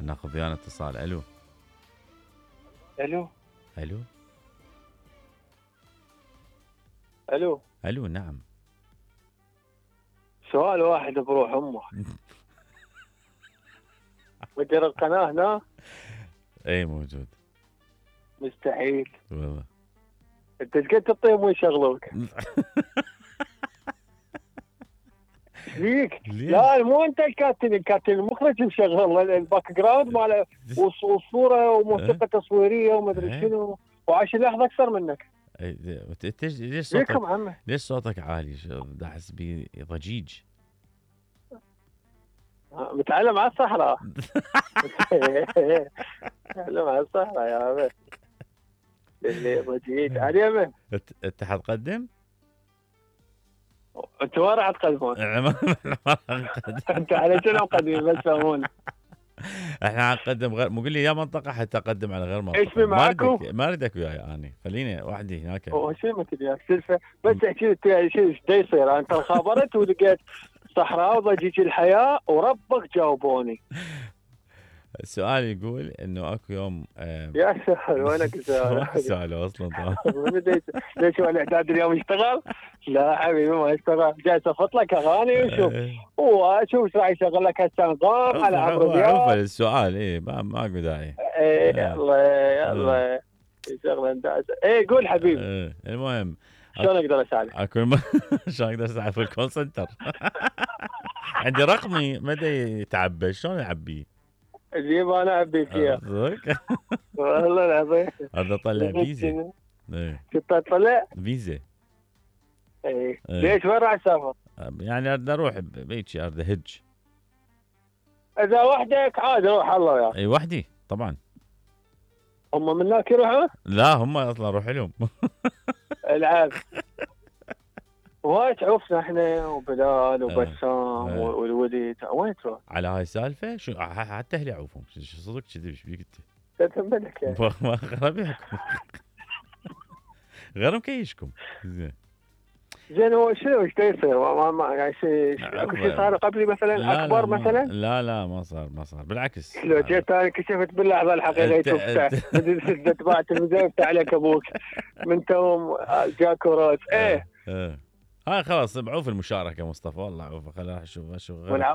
ناخذ ويانا اتصال. الو الو الو الو الو. نعم. سؤال واحد بروح امه. مدير القناه هنا؟ اي موجود. مستحيل. والله انت ايش قد تعطيهم ويشغلوك؟ ايش فيك؟ لا مو انت الكاتب المخرج مشغل الباك جراوند مال والصوره وموسيقى تصويريه ومدري شنو، وعايش اللحظه اكثر منك. ليش صوتك ليش صوتك عالي؟ دا احس بيه ضجيج. متعلم على الصحراء. متعلم على الصحراء يا عمي. اللي ضجيج علي من انت حتقدم؟ انت وين راح تقدمون؟ انت على شنو مقدمين بس فهمونا. احنا حنقدم غير مو قول لي يا منطقه حتى اقدم على غير منطقه. ايش معاكم؟ ما اريدك وياي اني، خليني وحدي هناك. هو شو ما تبي سلفه بس احكي لي شو ايش يصير. انت خابرت ولقيت صحراء وضجيج الحياه وربك جاوبوني. السؤال يقول انه اكو يوم يا سهل وينك سؤال اصلا. ليش هو الاعداد اليوم يشتغل؟ لا حبيبي ما يشتغل، جاي اصفط لك اغاني وشوف وشوف ايش راح يشغل لك هسه نظام على عمرو دياب. عرف السؤال. اي ما اكو داعي. يلا شغله اي قول حبيبي. المهم شلون اقدر اساعدك؟ شلون اقدر اساعدك في الكول سنتر؟ عندي رقمي مدى يتعبى، شلون اعبيه؟ اللي ما انا اعبي فيها. والله العظيم. اريد اطلع فيزا. كنت اطلع فيزا. اي ليش وين راح تسافر؟ يعني اريد اروح بيتشي، اريد اهج. اذا وحدك عادي روح الله وياك. اي وحدي طبعا. هم من هناك يروحون؟ لا هم اصلا اروح لهم. العاب. وايد عرفنا احنا وبلال وبسام والوليد. وين تروح؟ على هاي السالفه شو حتى اهلي اعوفهم. شو صدق كذب؟ ايش بيك انت؟ تتملك يعني. ما غربيكم. غير مكيشكم. زين هو شنو ايش يصير؟ ما يعني اكو شيء صار قبلي مثلا لا اكبر لا مثلا؟ لا ما صار بالعكس. لو جيت انا كشفت باللحظه الحقيقيه تبع التلفزيون يفتح عليك ابوك من توم جاكو روز. ايه هاي خلاص بعوف المشاركه مصطفى. والله عوف. خليني اشوف غير